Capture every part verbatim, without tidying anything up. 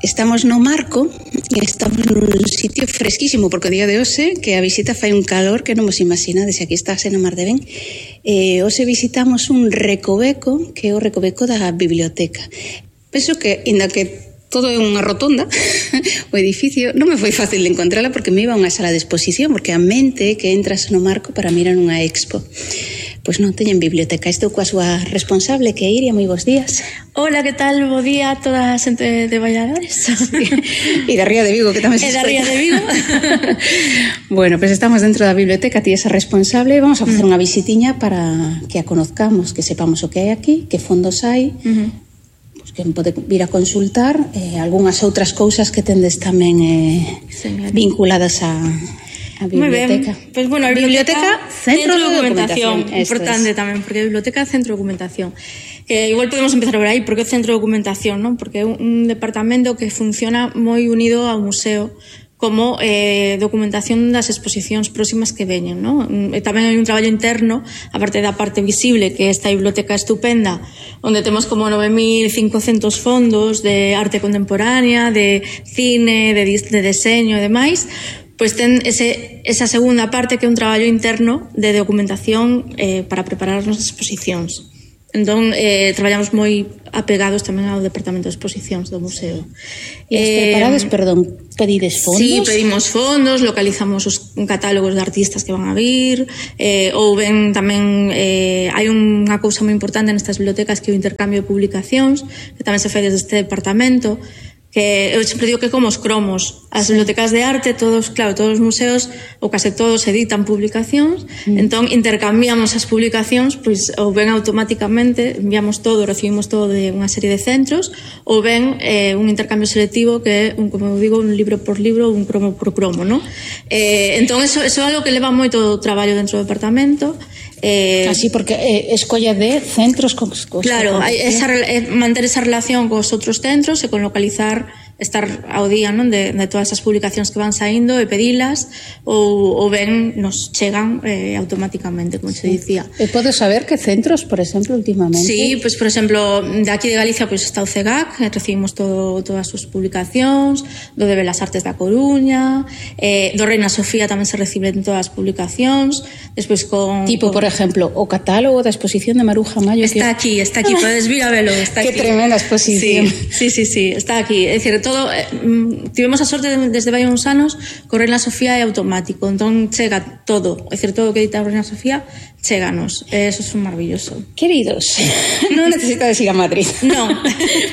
Estamos no Marco e estamos nun sitio fresquísimo, porque o día de hoxe que a visita fai un calor que non vos imaginades, aquí estás no Mar de Ben. Eh, hoxe visitamos un recoveco, que é o recoveco da biblioteca. Penso que, inda que todo é unha rotonda, o edificio non me foi fácil de encontrala porque me iba a unha sala de exposición, porque a mente que entras no Marco para mirar unha expo. Pois non teñen biblioteca. Estou coa súa responsable, que é Iria. Moi bons días. Hola, que tal? Bo día a toda a xente de Valladares. Sí. E da Ría de Vigo, que tamén se E da Ría de Vigo. Bueno, pois pues estamos dentro da biblioteca, ti esa responsable. Vamos a facer mm. unha visitiña para que a conozcamos, que sepamos o que hai aquí, que fondos hai, uh-huh. pues que pode vir a consultar eh, algunhas outras cousas que tendes tamén eh, vinculadas a... a biblioteca. Pues bueno, a biblioteca, biblioteca centro, centro de documentación, documentación importante es. Tamén, porque a biblioteca é centro de documentación. Que igual podemos empezar por aí, porque é centro de documentación, non? Porque é un departamento que funciona moi unido ao museo como eh, documentación das exposicións próximas que veñen, non? E tamén hai un traballo interno, aparte da parte visible, que é esta biblioteca estupenda, onde temos como nove mil cincocentos fondos de arte contemporánea, de cine, de, de deseño e demais. Pois ten ese, esa segunda parte que é un traballo interno de documentación eh, para preparar as nosas exposicións. Entón, eh, traballamos moi apegados tamén ao departamento de exposicións do museo. E as preparades, eh, perdón, pedides fondos? Sí, pedimos fondos, localizamos os catálogos de artistas que van a vir, eh, ou ben tamén eh, hai unha cousa moi importante nestas bibliotecas que é o intercambio de publicacións, que tamén se fai desde este departamento, que eu sempre digo que como os cromos, as bibliotecas de arte, todos, claro, todos os museos ou case todos editan publicacións, mm. entón intercambiamos as publicacións, pois ou ben automáticamente enviamos todo, recibimos todo de unha serie de centros, ou ben eh, un intercambio selectivo que é, un, como eu digo, un libro por libro, un cromo por cromo, non? Eh, entón, eso, eso é algo que leva moito traballo dentro do departamento. Eh, Así, porque eh, escolla de centros con, con claro, hai esa, eh, manter esa relación cos outros centros e con localizar, estar ao día, non, de, de todas as publicacións que van saindo e pedilas, ou, ou ben nos chegan eh, automáticamente, como se dicía. E podes saber que centros, por exemplo, últimamente? Sí, pois, pues, por exemplo, de aquí de Galicia pois, pues, está o C E G A C, recibimos todo, todas as súas publicacións, do de Belas Artes da Coruña, eh, do Reina Sofía tamén se reciben todas as publicacións, despois con... Tipo, con... por exemplo, o catálogo da exposición de Maruja Mayo. Está que... aquí, está aquí, podes vir a velo. Está Qué aquí. Tremenda exposición. Sí, sí, sí, sí, está aquí. É dicir, todo, eh, tivemos a sorte de, desde vai uns anos que o Reina Sofía é automático, entón chega todo, é dicir, todo o que edita o Reina Sofía chéganos, eso é maravilloso. Queridos, non necesitas ir a Madrid. No.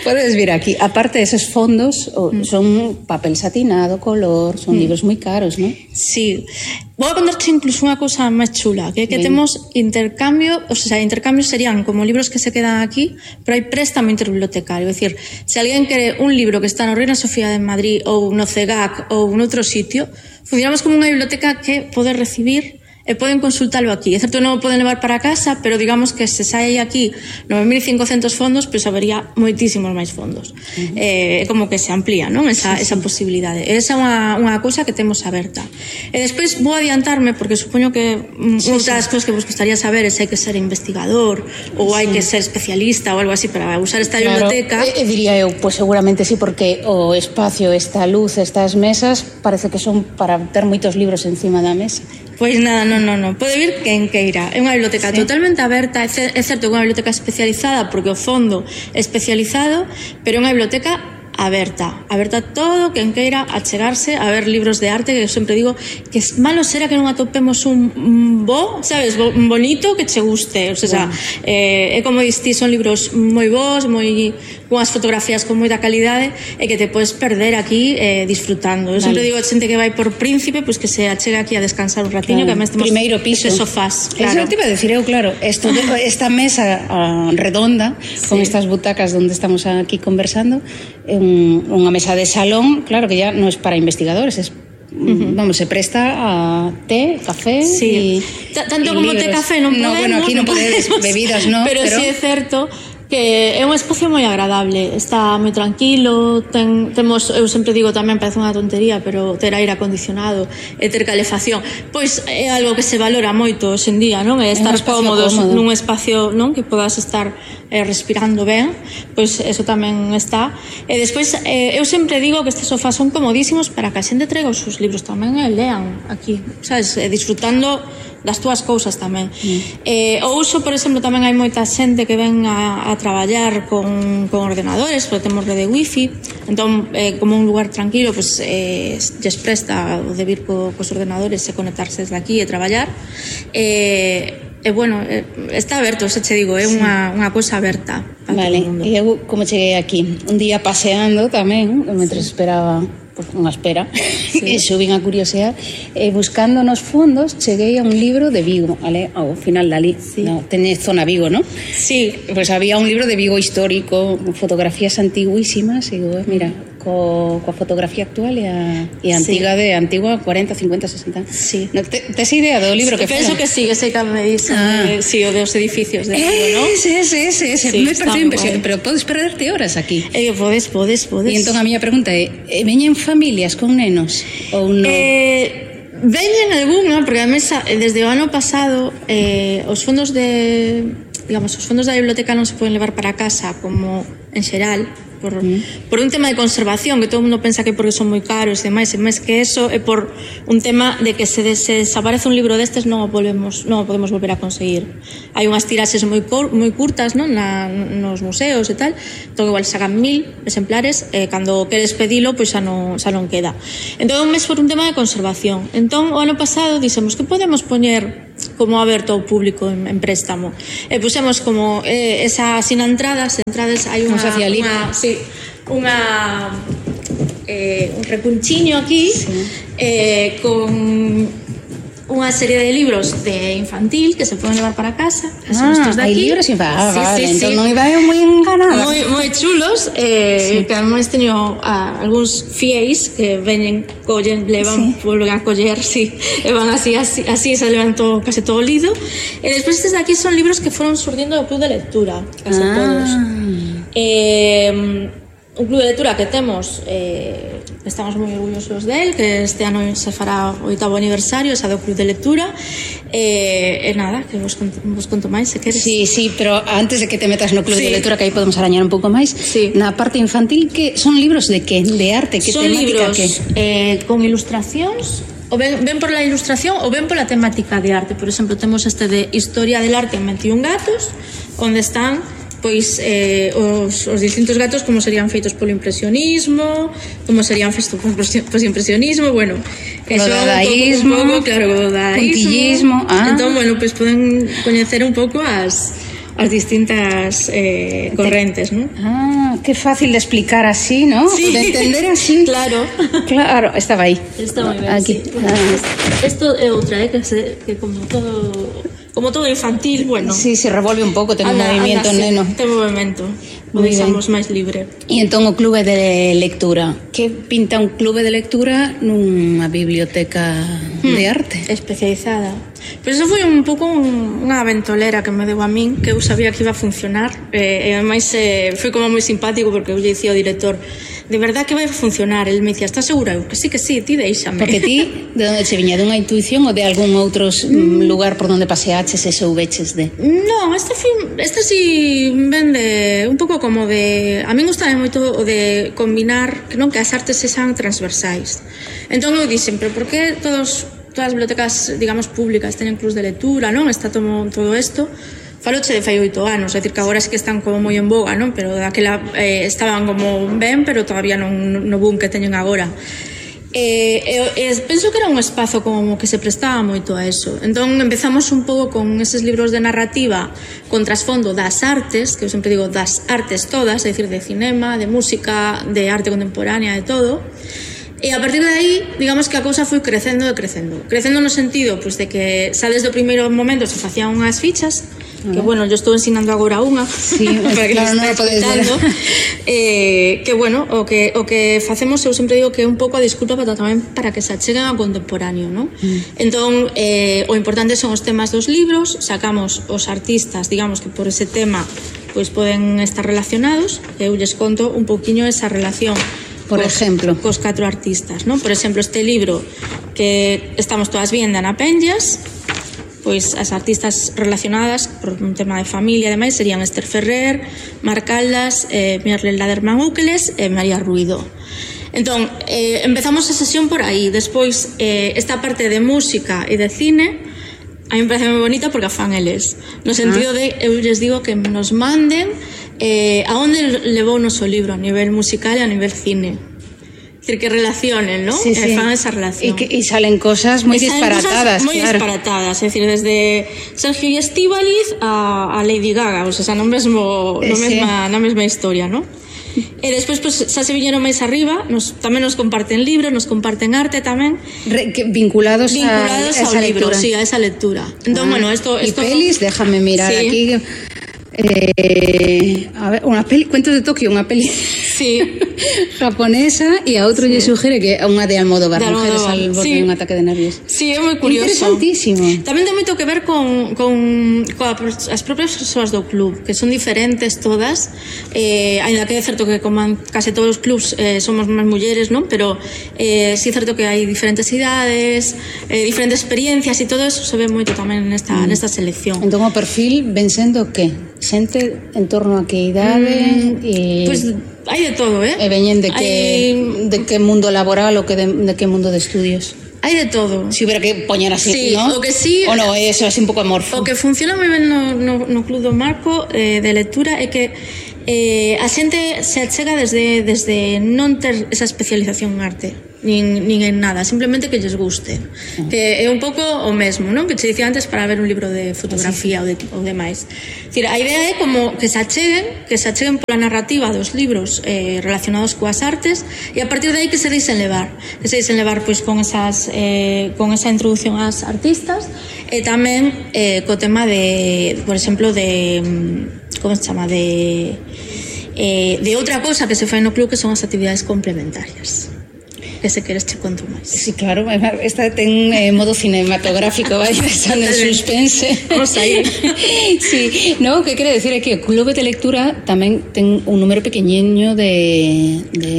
Podes vir aquí. Aparte, esos fondos mm. son papel satinado, color, son mm. libros moi caros, non? Sí. Vou a contarte incluso unha cousa máis chula, que é que Bien. temos intercambio, o sea, intercambios serían como libros que se quedan aquí, pero hai préstamo interbibliotecario, é dicir, se alguén quere un libro que está no Reina Sofía de Madrid ou no C E G A C ou noutro sitio, funcionamos como unha biblioteca que pode recibir e poden consultalo aquí. É certo, non o poden levar para casa, pero digamos que se sai aquí nove mil cincocentos fondos, pois habería moitísimos máis fondos. É uh-huh. eh, como que se amplía, non? Esa, sí, sí. esa posibilidade. Esa é unha, unha cousa que temos aberta. E despois vou adiantarme, porque supoño que sí, outras sí. cousas que vos gustaría saber é se hai que ser investigador ou hai sí. que ser especialista ou algo así para usar esta claro. biblioteca. E, e diría eu, pois seguramente sí, porque o espacio, esta luz, estas mesas, parece que son para ter moitos libros encima da mesa. Pois nada, non, non, non. Pode vir quen queira. É unha biblioteca sí. totalmente aberta. É certo que é unha biblioteca especializada porque o fondo é especializado, pero é unha biblioteca aberta. Aberta a todo quen queira achegarse a ver libros de arte, que eu sempre digo que malo será que non atopemos un, un bo, sabes, bo, un bonito que che guste. O sea, bueno. eh, é como diste, son libros moi bons, moi unhas fotografías con moita calidade e que te podes perder aquí eh, disfrutando. Eu vale. sempre digo a xente que vai por Príncipe, pois que se achega aquí a descansar un ratiño, claro. que además temos primeiro piso, sofás. Claro. Eso te iba a decir eu, claro, esto, esta mesa uh, redonda, sí. con estas butacas donde estamos aquí conversando, un, unha mesa de salón, claro que ya non é para investigadores, es Uh-huh. vamos, se presta a té, café sí. y tanto y como libros. té, café non podemos, no, bueno, aquí non podedes bebidas, no, pero, pero sí é certo que é un espacio moi agradable, está moi tranquilo, ten, temos, eu sempre digo tamén, parece unha tontería, pero ter aire acondicionado e ter calefacción, pois é algo que se valora moito hoxe en día, non? É estar cómodos cómodo. nun espacio, non? Que podas estar eh, respirando ben, pois eso tamén está. E despois, eh, eu sempre digo que estes sofás son comodísimos para que a xente traiga os seus libros tamén e lean aquí, sabes? E disfrutando das túas cousas tamén. Mm. Eh, o uso, por exemplo, tamén hai moita xente que ven a, a traballar con, con ordenadores, porque temos rede wifi, entón, eh, como un lugar tranquilo, pues, eh, lles presta o de vir co, cos ordenadores e conectarse desde aquí e traballar. E, eh, bueno, eh, está aberto, xa che digo, é sí. unha, unha cousa aberta. Vale, e eu como cheguei aquí? Un día paseando tamén, mentre sí. esperaba unha espera, sí. e subín a curiosidade, e buscando nos fondos cheguei a un libro de Vigo, ale, ao final dali, sí. no, tené zona Vigo, non? Sí. Pois pues había un libro de Vigo histórico, fotografías antiguísimas, e digo, mira, co, coa fotografía actual e a, e a antiga sí. de antigua, cuarenta, cincuenta, sesenta. Sí. No, te, tes idea do libro que penso que sí, que sei que me dicen, ah. eh, sí, o dos edificios de Vigo, non? Ese, ese, ese, ese. Sí, me parece impresionante, pero podes perderte horas aquí. Eh, podes, podes, podes. E entón a miña pregunta é, veñen familias con nenos ou non? Eh, veñen algunha, porque a mesa, desde o ano pasado, eh, os fondos de, digamos, os fondos da biblioteca non se poden levar para casa como en xeral, por, mm. por un tema de conservación, que todo o mundo pensa que porque son moi caros e demais, e máis que eso é por un tema de que se, se desaparece un libro destes non o podemos, non o podemos volver a conseguir. Hai unhas tiraxes moi, cor, moi curtas, non? Na, nos museos e tal, entón igual sacan mil exemplares, e cando queres pedilo, pois xa non, xa non queda. Entón un mes por un tema de conservación. Entón o ano pasado dixemos que podemos poñer como aberto ao público en, en préstamo, e pusemos como eh, esa sin entradas, entradas hai unha, unha, sí, unha eh, un recunchiño aquí sí. eh, con unha serie de libros de infantil que se poden levar para casa, que son ah, estos de aquí. Hai libros infantil, ah, sí, vale, sí, entón sí. non iba eu moi enganada. Moi, moi chulos, eh, sí. que además teño ah, algúns fiéis que veñen, collen, levan, sí. volven a coller, sí, e van así, así, así se levantou case todo lido. E despois estes de aquí son libros que foron surdindo do club de lectura, case ah. todos. Eh, un club de lectura que temos, eh, estamos moi orgullosos del, que este ano se fará o oitavo aniversario, esa do club de lectura, e, e nada, que vos conto, vos conto máis, se queres. Sí, sí, pero antes de que te metas no club sí. de lectura, que aí podemos arañar un pouco máis, sí. na parte infantil, que son libros de que? De arte, que son temática libros, que? Eh, con ilustracións, o ven, ven por la ilustración ou ven pola temática de arte. Por exemplo, temos este de Historia del arte en veintiún gatos, onde están pois eh, os, os distintos gatos, como serían feitos polo impresionismo, como serían feitos polo impresionismo, bueno, eso dadaísmo, un pouco, claro, o dadaísmo, ah. entón, bueno, pois poden coñecer un pouco as as distintas eh, correntes, ¿no? Ah, qué fácil de explicar así, ¿no? Sí. De entender así. Claro. Claro, estaba aí. Está moi ben, aquí. Sí. Ah. Esto é outra, eh, que, se, que como todo como todo infantil, bueno. Sí, se revolve un pouco, ten un movimiento, anda, neno. Sí, ten movimento. O deixamos máis libre. E entón o clube de lectura, que pinta un clube de lectura nunha biblioteca hmm. de arte? Especializada. Pero eso foi un pouco un, unha ventolera que me deu a min, que eu sabía que iba a funcionar, e, e ademais eh, foi como moi simpático, porque eu lle dicía ao director, de verdad que vai a funcionar? El me dicía, estás segura? Eu, que sí, que sí, ti deixame. Porque ti, de onde che viña? Dunha intuición ou de algún outro mm. lugar por onde paseaches e soubeches de? Non, este film, este sí ven de un pouco como de, a min gustame moito o de combinar, que non, que as artes sexan transversais. Entón eu dixen, pero por que todos todas as bibliotecas, digamos, públicas teñen clubs de lectura, non? Está todo, todo isto. Faloche de fai oito anos, é dicir que agora é que están como moi en boga, non? Pero daquela eh, estaban como ben, pero todavía non no boom que teñen agora. E, e, e penso que era un espazo como que se prestaba moito a eso. Entón empezamos un pouco con eses libros de narrativa con trasfondo das artes, que eu sempre digo das artes todas, é dicir, de cinema, de música, de arte contemporánea, de todo. E a partir de aí, digamos que a cousa foi crecendo e crecendo. Crecendo no sentido, pois, de que xa desde o primeiro momento se facían unhas fichas que bueno, yo estou ensinando agora unha, sí, para que claro, non lo podes ver. eh, que bueno, o que, o que facemos, eu sempre digo que é un pouco a disculpa para tamén para que se acheguen ao contemporáneo, ¿no? Mm. Entón, eh, o importante son os temas dos libros, sacamos os artistas, digamos que por ese tema pois poden estar relacionados, eu lles conto un pouquiño esa relación. Por cos, exemplo, cos catro artistas, ¿no? Por exemplo, este libro que estamos todas viendo na Penllas, pois as artistas relacionadas por un tema de familia, ademais, serían Esther Ferrer, Mar Caldas, eh, Mirle Laderman Úqueles e María Ruido. Entón, eh, empezamos a sesión por aí. Despois, eh, esta parte de música e de cine a mí me parece moi bonita porque a fan eles, no sentido de, eu les digo que nos manden eh, a onde levou o noso libro a nivel musical e a nivel cine. Es decir, que relacionen, ¿no? Sí, sí. Eh, fan esa relación. Y, que, y salen cosas muy disparatadas. Muy claro. disparatadas, es decir, desde Sergio y Estíbaliz a, a Lady Gaga, o sea, no mesmo, no sí. mesma, na mesma historia, ¿no? E despois, pues, xa se viñeron máis arriba, nos, tamén nos comparten libros, nos comparten arte tamén. Re, que, vinculados, vinculados a, a esa libro, lectura. Sí, a esa lectura. Entón, ah, bueno, esto... Y esto pelis, déjame mirar sí. aquí... Eh, a ver, unha peli, Cuentos de Tokio, unha peli sí. japonesa, e a outro sí. lle suxere que é unha de Almodóvar, de mujeres al borde sí. de un ataque de nervios. Sí, é moi curioso. Interesantísimo. Tamén ten moito que ver con, con, con as propias persoas do club, que son diferentes todas, eh, ainda que é certo que como en case todos os clubs eh, somos máis mulleres, non? Pero eh, sí é certo que hai diferentes idades, eh, diferentes experiencias, e todo eso se ve moito tamén nesta, mm. nesta selección. Entón o perfil ven sendo que? Xente en torno a que idade? Mm, e... Pois pues, hai de todo, eh? E veñen de que, hai... de que mundo laboral ou que de, de que mundo de estudios? Hai de todo. Si hubiera que poñer así, sí, ¿no? O que sí, o no, eso así un pouco amorfo. O que funciona moi ben no, no, no Club do Marco eh, de lectura é que eh, a xente se achega desde, desde non ter esa especialización en arte, nin, nin en nada, simplemente que lles guste. Uh-huh. Que é un pouco o mesmo, non? Que che dicía antes para ver un libro de fotografía sí. ou, de, ou demais. Decir, a idea é como que se acheguen, que se acheguen pola narrativa dos libros eh, relacionados coas artes, e a partir de aí que se deixen levar, que se deixen levar pois con esas eh, con esa introducción ás artistas, e tamén eh, co tema de, por exemplo, de como se chama, de eh, de outra cousa que se fai no club, que son as actividades complementarias, que se queres che conto máis. Sí, claro, esta ten eh, modo cinematográfico, vai pensando en suspense. Vamos aí. Sí, no, que quere decir é que o club de lectura tamén ten un número pequeniño de, de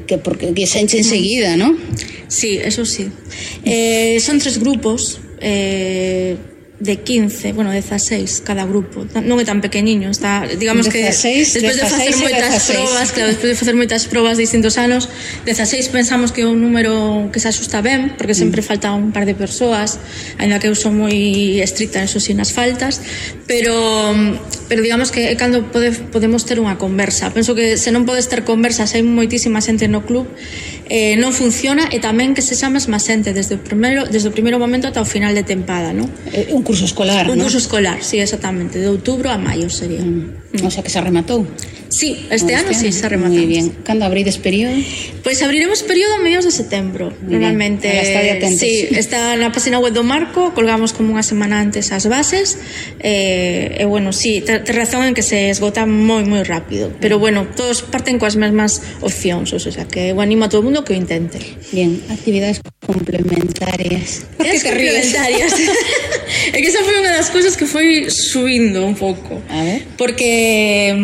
que porque que se enche enseguida, ¿no? Sí, eso sí. Eh, son tres grupos, eh de quince, bueno, dezaseis cada grupo. Non é tan pequeniño, está, digamos que dezaseis, despois de facer moitas probas, claro, despois de facer moitas probas de distintos anos, dezaseis pensamos que é un número que se asusta ben, porque sempre mm. falta un par de persoas, aínda que eu son moi estricta en eso sin as faltas, pero pero digamos que é cando pode, podemos ter unha conversa. Penso que se non podes ter conversas, hai moitísima xente no club, eh, non funciona, e tamén que se xa mesma xente desde o primeiro, desde o primeiro momento ata o final de tempada, non? Eh, un curso escolar, un ¿no? curso escolar, sí, exactamente, de outubro a maio sería. Mm. O sea que se rematou. Sí, este, este ano sí se rematou. Moi bien. Cando abrides período? Pois pues abriremos período a mediados de setembro. Muy normalmente. Sí, está na página web do Marco, colgamos como unha semana antes as bases. Eh, e bueno, sí, te, te razón en que se esgota moi moi rápido, pero bueno, todos parten coas mesmas opcións, o sea que eu animo a todo o mundo que o intente. Bien, actividades complementarias. Por que te ríes? É que esa foi unha das cousas que foi subindo un pouco. A ver. Porque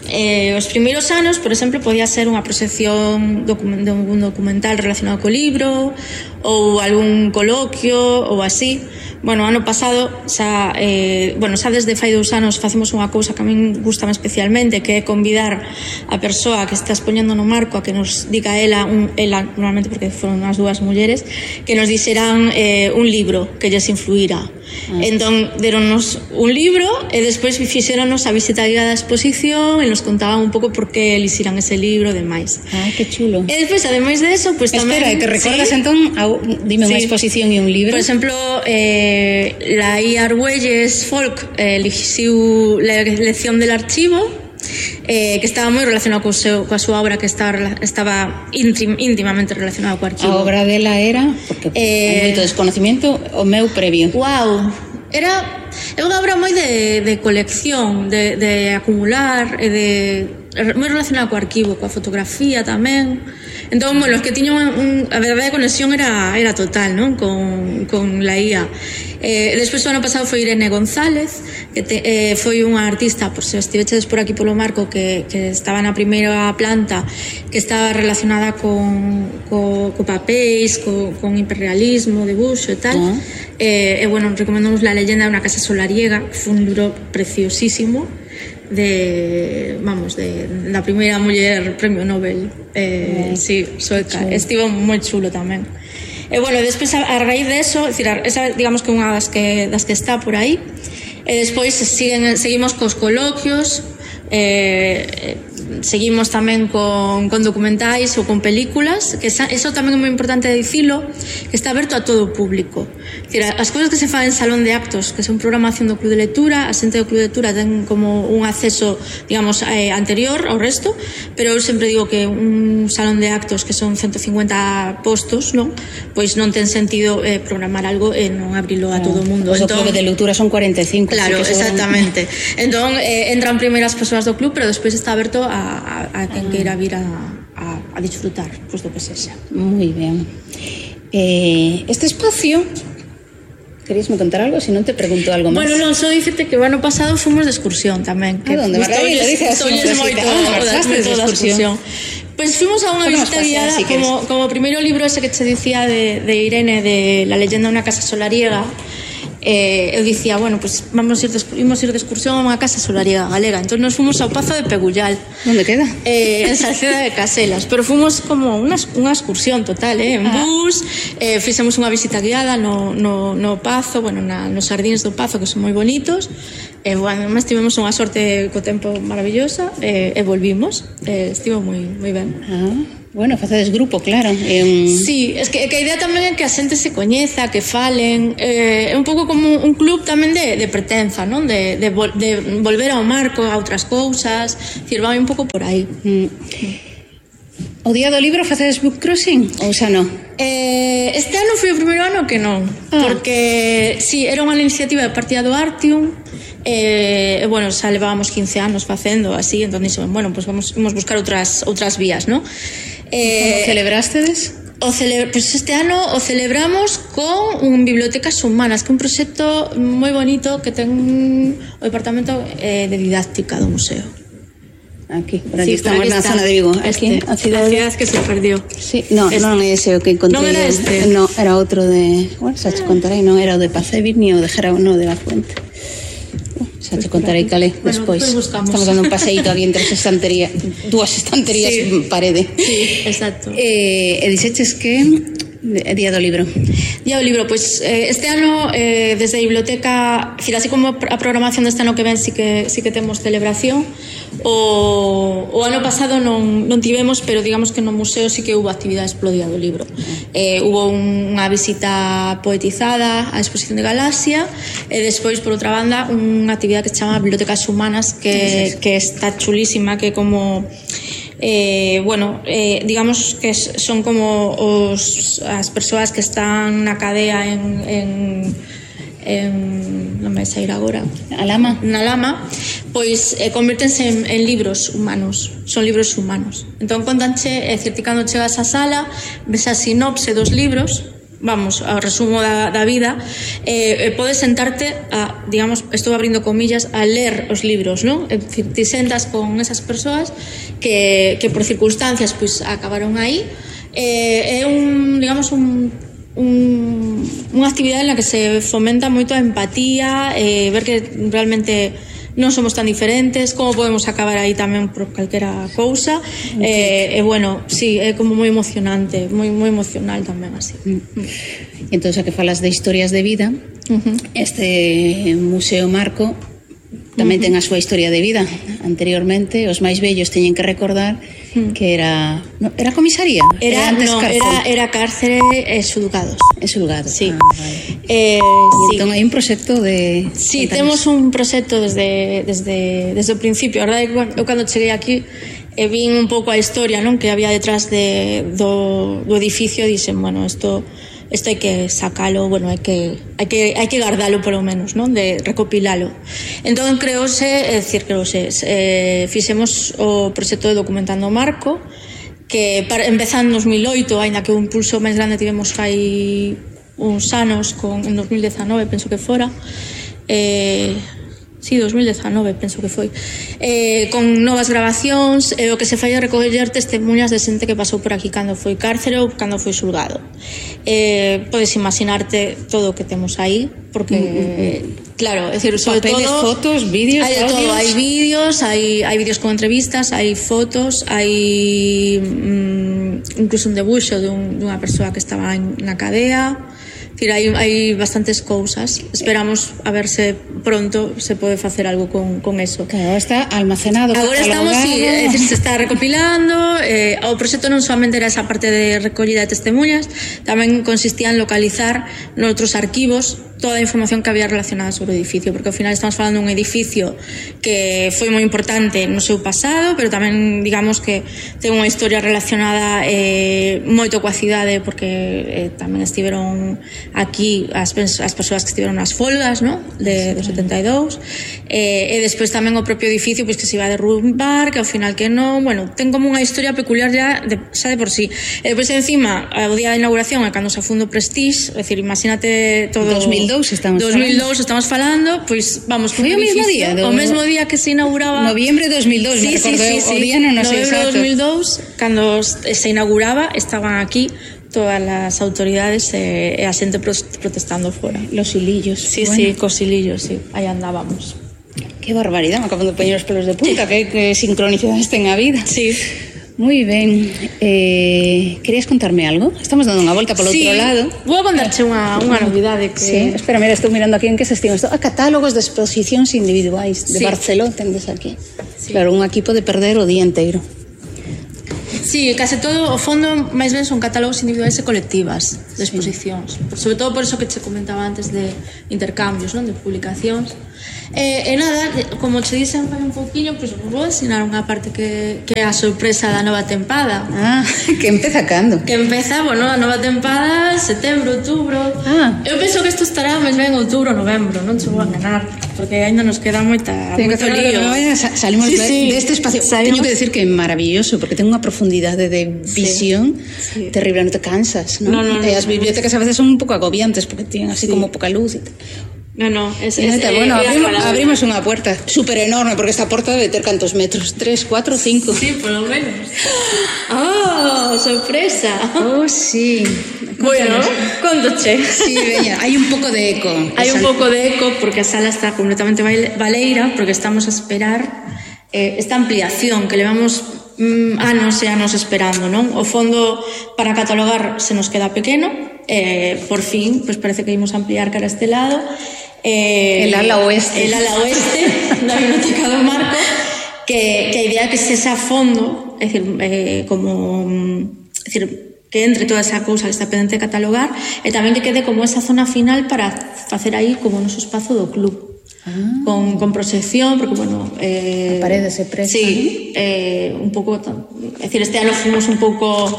eh, os primeiros anos, por exemplo, podía ser unha proxección de un documental relacionado co libro, ou algún coloquio ou así. Bueno, ano pasado xa, eh, bueno, xa desde fai dous anos facemos unha cousa que a min gustame especialmente, que é convidar a persoa que está expoñendo no Marco a que nos diga ela, un, ela normalmente porque foron as dúas mulleres, que nos dixeran eh, un libro que lles influíra. Ah. Entón, deronnos un libro e despois fixéronos a visita guiada da exposición e nos contaban un pouco por que elixiran ese libro e demais. Ah, que chulo. E despois, ademais de eso, pues tamén... Espera, que recordas ¿sí? entón, a, dime sí. unha exposición e un libro. Por exemplo, eh, la I. Argüelles Folk eh, elixiu la lección del archivo, eh, que estaba moi relacionado co seu, coa súa obra, que estaba, estaba íntim, íntimamente relacionado co archivo. A obra dela era, porque eh, hai moito desconocimiento, o meu previo. Wow, era... é unha obra moi de, de colección, de, de acumular, e de moi relacionada co arquivo, coa fotografía tamén. Entón, bueno, os que tiñan un, a verdade, a conexión era, era total, non? Con, con la I A. Eh, despois, o ano pasado foi Irene González, que te, eh, foi unha artista, por se estivechedes por aquí polo marco, que, que estaba na primeira planta, que estaba relacionada con, co, co papéis, co, con hiperrealismo, debuxo e tal. Uh-huh. eh, e, bueno, recomendamos La leyenda de una casa solariega, que foi un libro preciosísimo, de, vamos, de da primeira muller premio Nobel, eh, sí, sueca. Estivo moi chulo tamén. E, bueno, despois, a, a raíz de eso, decir, esa, digamos que unha das que, das que está por aí. E despois siguen, seguimos cos coloquios, eh, seguimos tamén con, con documentais ou con películas, que esa, eso tamén é moi importante dicilo, que está aberto a todo o público. Decir, as cousas que se fan en salón de actos, que son programación do Club de Lectura, a xente do Club de Lectura ten como un acceso, digamos, eh, anterior ao resto, pero eu sempre digo que un salón de actos que son ciento cincuenta postos, non? Pois non ten sentido eh, programar algo e non abrilo a todo o mundo. Pues entón, o Club de Lectura son cuarenta e cinco. Claro, sí, exactamente. Entón, eh, entran primeiras persoas do club, pero despois está aberto a a, a quen ah. queira vir a, a, a disfrutar, pues, do que sexa. Moi ben. Eh, este espacio, queríasme contar algo? Se non te pregunto algo máis. Bueno, non, só dicirte que o ano pasado fomos de excursión tamén. Que ah, onde? Margarida, dices? Gustolles moito da excursión. Pois pues fuimos a unha visita guiada, si como, como o primeiro libro ese que te dicía de, de Irene, de La leyenda de una casa solariega. Eh, eu dicía, bueno, pues vamos a ir de, imos ir de excursión a unha casa solariega galega. Entón nos fomos ao Pazo de Pegullal. Onde queda? Eh, en Salceda de Caselas. Pero fomos como unha, unha excursión total, eh, en ah. bus, eh, fixemos unha visita guiada no, no, no Pazo, bueno, na, nos xardíns do Pazo, que son moi bonitos. E, bueno, además tivemos unha sorte co tempo maravillosa, eh, e volvimos. Eh, estivo moi, moi ben. Ah. Bueno, facedes grupo, claro. É un... Sí, es que, que a idea tamén é que a xente se coñeza, que falen, eh, é un pouco como un club tamén de, de pertenza, non? De, de, vol, de volver ao marco, a outras cousas, decir, vai un pouco por aí. Mm. O día do libro facedes book crossing ou xa non? Eh, este ano foi o primeiro ano que non, ah. porque sí, era unha iniciativa de Partida do Artium. E, eh, bueno, xa levábamos quince anos facendo así, entón dixemos, bueno, pues vamos, vamos buscar outras outras vías, ¿no? Eh, Como celebrastedes? O cele... pues este ano o celebramos con un Bibliotecas Humanas, que é un proxecto moi bonito que ten o departamento eh, de didáctica do museo. Aquí, por aquí sí, estamos na zona de Vigo. Aquí, este, a cidade... a cidade que se perdió. Sí, no, este. non é ese o que encontrei. Non era este? No, era outro de... Bueno, xa te contarei, non era o de Pacevir ni o de Gerao, no, de la Fuente. Xa te contarei calé despois. Bueno, estamos dando un paseíto aquí entre as estanterías, dúas estanterías sí. en parede. Sí, exacto. Eh, e dixeches que é Día do Libro. Día do Libro, pois pues, eh, este ano eh, desde a biblioteca, decir, así como a programación deste ano que ven sí que, sí que temos celebración. O, o ano pasado non, non tivemos, pero digamos que no museo sí que hubo actividades polo Día do Libro. Eh, hubo un, unha visita poetizada á exposición de Galaxia e despois, por outra banda, unha actividade que se chama Bibliotecas Humanas, que, que está chulísima, que como... Eh, bueno, eh, digamos que son como os, as persoas que están na cadea en, en, en non me sair agora a lama. na lama, pois eh, convértense en, en libros humanos, son libros humanos. Entón contanche, é dicir, cando chegas á sala ves a sinopse dos libros, vamos, ao resumo da, da vida, eh, podes sentarte a, digamos, estou abrindo comillas, a ler os libros, non? É dicir, te sentas con esas persoas que, que por circunstancias pois acabaron aí. Eh, é un, digamos, un, un, unha actividade en la que se fomenta moito a empatía, eh, ver que realmente non somos tan diferentes, como podemos acabar aí tamén por calquera cousa. Okay. E, eh, eh, bueno, sí, é como moi emocionante, moi moi emocional tamén así. Mm. Entón, xa que falas de historias de vida, uh-huh. este Museo Marco tamén uh-huh. ten a súa historia de vida. Anteriormente, os máis vellos teñen que recordar uh-huh. que era... No, era comisaría? Era, era antes no, cárcere. Era, era cárcere e xulgados. E xulgados, sí. Ah, vale. Eh, sí. Entón hai un proxecto de... Sí, temos un proxecto desde, desde, desde o principio. A verdade, eu cando cheguei aquí e vin un pouco a historia, non, que había detrás de, do, do edificio, dixen, bueno, isto isto hai que sacalo, bueno, hai que hai que hai que guardalo polo menos, non? De recopilalo. Entón creose, é dicir, creose, eh, fixemos o proxecto de Documentando o Marco, que para, empezando en dos mil oito, aínda que o impulso máis grande tivemos fai uns anos, con, en dos mil dezanove, penso que fora, eh, sí, dos mil dezanove, penso que foi, eh, con novas grabacións, e eh, o que se fai é recoller testemunhas de xente que pasou por aquí cando foi cárcere ou cando foi xulgado. Eh, podes imaginarte todo o que temos aí, porque, eh, claro, é dicir, sobre papeles, todo, fotos, vídeos, hai de audios. todo, hai vídeos, hai, hai vídeos con entrevistas, hai fotos, hai mm, incluso un debuxo dun, dunha persoa que estaba en, na cadea. Decir, hai, hai bastantes cousas. Esperamos a ver se pronto se pode facer algo con, con eso. Claro, está almacenado. Agora estamos, sí, é dicir, se está recopilando. Eh, o proxecto non solamente era esa parte de recollida de testemunhas, tamén consistía en localizar noutros arquivos toda a información que había relacionada sobre o edificio, porque ao final estamos falando dun edificio que foi moi importante no seu pasado, pero tamén, digamos, que ten unha historia relacionada eh, moito coa cidade, porque eh, tamén estiveron aquí as, as persoas que estiveron nas folgas, ¿no? de, do setenta e dous, eh, e despois tamén o propio edificio pois, que se iba a derrumbar, que ao final que non, bueno, ten como unha historia peculiar ya de, xa de por sí. E despois encima, o día de inauguración é cando se afundo Prestige, é dicir, imagínate todo... dos mil dous estamos dos mil dous falando. estamos falando, pois vamos, foi o mesmo día, do... o mesmo día que se inauguraba, noviembre de dos mil dous, sí, me recordo, sí, sí, o día non, non sei noviembre de exacto. dos mil dous, cando se inauguraba, estaban aquí todas as autoridades e, e a xente protestando fora. Los hilillos. Sí, bueno. sí, cos hilillos, sí, aí andábamos. Qué barbaridad, me acabo de poñer os pelos de punta, sí. que, que sincronicidades ten a vida. Sí. Moi ben. Eh, querías contarme algo? Estamos dando unha volta polo sí, outro lado. Vou a contarche unha, unha novidade que... Sí, espera, mira, estou mirando aquí en que se estima isto. Ah, catálogos de exposicións individuais de sí. Barcelona, tendes aquí. Sí. Claro, un equipo de perder o día inteiro. Sí, case todo, o fondo, máis ben son catálogos individuais e colectivas de exposicións. Sí. Sobre todo por eso que che comentaba antes de intercambios, non? De publicacións. E, e nada, como che dixen fai un pouquiño, pois pues, vou ensinar unha parte que, que é a sorpresa da nova tempada. Ah, que empeza cando? Que empeza, bueno, a nova tempada setembro, outubro. Ah. Eu penso que isto estará máis ben outubro, novembro, non che vou a enganar, porque aínda nos queda moita, moito lío. Salimos sí, de, sí. de este espacio. Salimos... Teño que decir que é maravilloso, porque ten unha profundidade de visión sí. Sí. terrible, non te cansas, ¿no? No, no, no, e as bibliotecas a veces son un pouco agobiantes, porque tienen así sí. como poca luz e tal. No, no, es, es, es, eh, bueno, abrimos, abrimos unha puerta súper enorme, porque esta porta debe ter cantos metros, tres, cuatro, cinco. Sí, por lo menos. ¡Oh, sorpresa! Oh, sí. Bueno, contoche. Sí, veña, hai un pouco de eco. Hai un pouco de eco porque a sala está completamente baleira, porque estamos a esperar eh, esta ampliación que levamos mm, anos e anos esperando, non? O fondo para catalogar se nos queda pequeno, eh, por fin, pues parece que ímos ampliar cara a este lado. Eh, el ala oeste. El ala oeste da Biblioteca do Marco, que, que a idea é que se xa fondo, é dicir, eh, como, é dicir, que entre toda esa cousa que está pendente de catalogar, e tamén que quede como esa zona final para facer aí como o noso espazo do club. Ah. Con, con proxección, porque, bueno... Eh, a parede se presta. Sí, eh, un pouco... É dicir, este ano fomos un pouco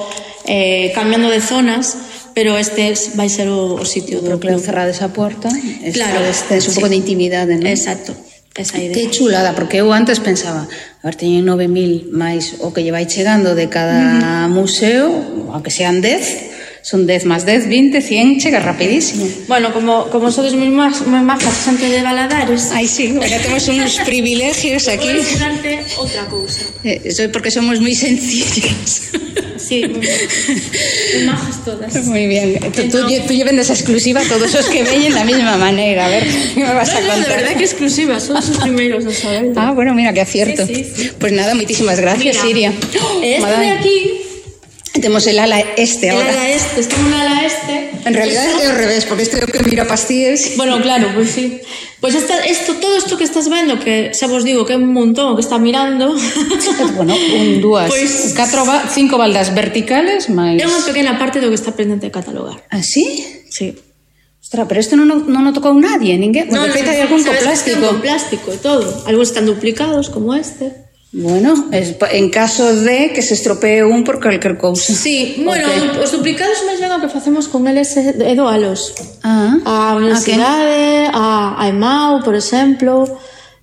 eh, cambiando de zonas, pero este vai ser o, o sitio do club. Claro, cerrada esa porta, claro, este, es un sí. pouco de intimidade, non? Exacto, esa idea. Que chulada, porque eu antes pensaba, a ver, teñen nove mil máis o que lle vai chegando de cada uh-huh. museo, aunque sean dez, son dez más dez, veinte, cien, chega rapidísimo. Bueno, como, como sodes moi majas xente de Valadares. Ai, sí, bueno, temos uns privilegios aquí. Vou ensinarte outra cousa. Eh, soy porque somos moi sencillas. Sí, moi, moi majas todas. Muy bien. Tú, tú, tú lleven esa exclusiva a todos os que veñen da mesma maneira. A ver, ¿qué me vas no, a contar? No, de verdad que exclusiva, son os primeiros a saber. Ah, bueno, mira, que acierto. Sí, sí, sí. Pues nada, muchísimas gracias, mira, Siria. Este de aquí... Temos el ala este ahora. El ala este, estamos en el ala este. En realidad es al revés, porque este é o que mira pastíes. Bueno, claro, pues sí. Pues esta, esto, todo esto que estás vendo, que xa vos digo que é un montón que está mirando. Bueno, un, dúas, pues, catro, cinco baldas verticales, máis... É unha pequena parte do que está pendente de catalogar. ¿Ah, sí? Sí. Ostras, pero isto non, non o tocou nadie, ninguén. No, de feito, no, hai algún co plástico. Con plástico e todo. Algúns están duplicados, como este. Bueno, es, en caso de que se estropee un por calquer cousa. Sí, bueno, okay. Os duplicados máis ben o que facemos con eles é doalos. Ah, a universidade, a, a EMAU, por exemplo,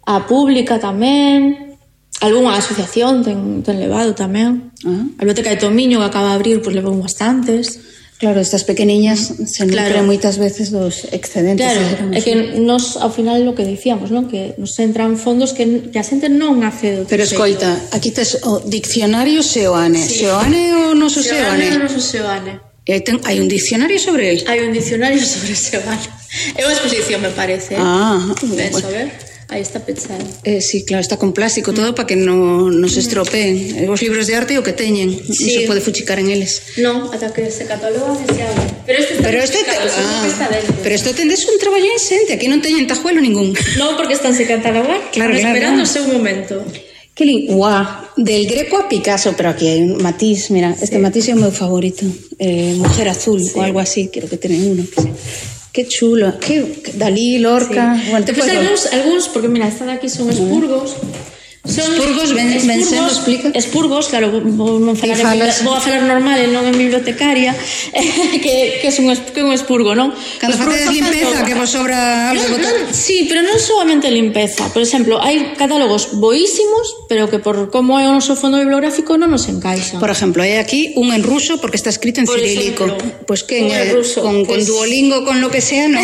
a Pública tamén, algunha asociación ten, ten levado tamén. Ah. A Biblioteca de Tomiño, que acaba de abrir, pois pues, levou bastantes. Claro, estas pequeniñas se nutren claro. moitas veces dos excedentes. Claro, é que nos, ao final, lo que dicíamos, non? Que nos entran fondos que, que a xente non accede. Pero escoita, aquí tes o diccionario Seoane. Sí. Seoane o noso Seoane? Seoane o noso Seoane. E ten, hai un diccionario sobre el? Hai un diccionario sobre Seoane. É unha exposición, me parece. Ah, ben, bueno. A ver. Aí está pechado. Eh, sí, claro, está con plástico todo mm. para que no, no se estropeen. Os libros de arte o que teñen, sí. Non se pode fuchicar en eles. No, ata que se catalogan e se abren. Pero este está pero este te, ah, está dentro. Pero isto tendes un traballo insente, aquí non teñen tajuelo ningún. No, porque están se catalogar, claro, claro, esperando o claro. seu momento. Que li... Guau, del Greco a Picasso, pero aquí hai un matiz, mira, este sí. matiz é o meu favorito. Eh, Mujer azul, sí. o algo así, quiero que tener uno. Que Qué chulo, que Dalí, Lorca... Sí. Bueno, Después algúns, algúns, porque mira, esta de aquí son expurgos. Son expurgos, ven, expurgos, ven sendo, explica. Expurgos, claro, vou, non falar en, vou a falar normal e non en bibliotecaria, que, que, é un, que é un expurgo, non? Cando facedes limpeza, que vos sobra algo no, botar. No, sí, pero non solamente limpeza. Por exemplo, hai catálogos boísimos, pero que por como é o noso fondo bibliográfico non nos encaixa. Por exemplo, hai aquí un en ruso porque está escrito en por cirílico. Pois pues que en ruso, con, pues... con Duolingo, con lo que sea, non?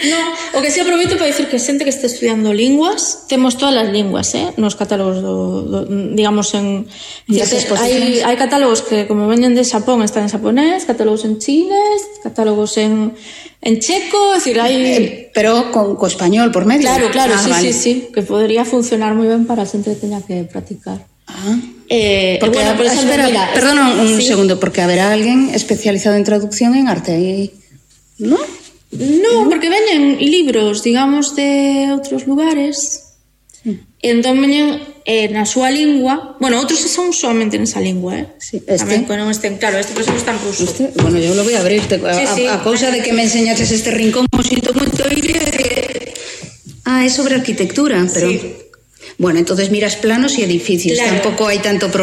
No, o que si aproveito para dicir que xente que está estudiando linguas, temos todas as linguas, eh? Nos catálogos do, do digamos en hai, hai catálogos que como veñen de Xapón están en xaponés, catálogos en chinés, catálogos en en checo, es decir, hai eh, pero con co español por medio. Claro, claro, ah, sí, vale. sí, sí, que podría funcionar moi ben para a xente que teña que practicar. Ah. Eh, porque, bueno, por exemplo, espera, mira, perdona un sí. segundo, porque haberá alguén especializado en traducción en arte aí, ¿no? No, porque veñen libros, digamos, de outros lugares. Sí. Entón veñen eh, na súa lingua. Bueno, outros son solamente nesa lingua, eh? Sí, este. Tamén que non estén, claro, este por exemplo está en ruso. Este, bueno, yo lo voy a abrir. Te, a, sí, sí. a, a cousa de que me enseñaches este rincón, o sinto moito ir. Ah, é sobre arquitectura, pero... Sí. Bueno, entonces miras planos y edificios, claro. Tampoco hay tanto problema.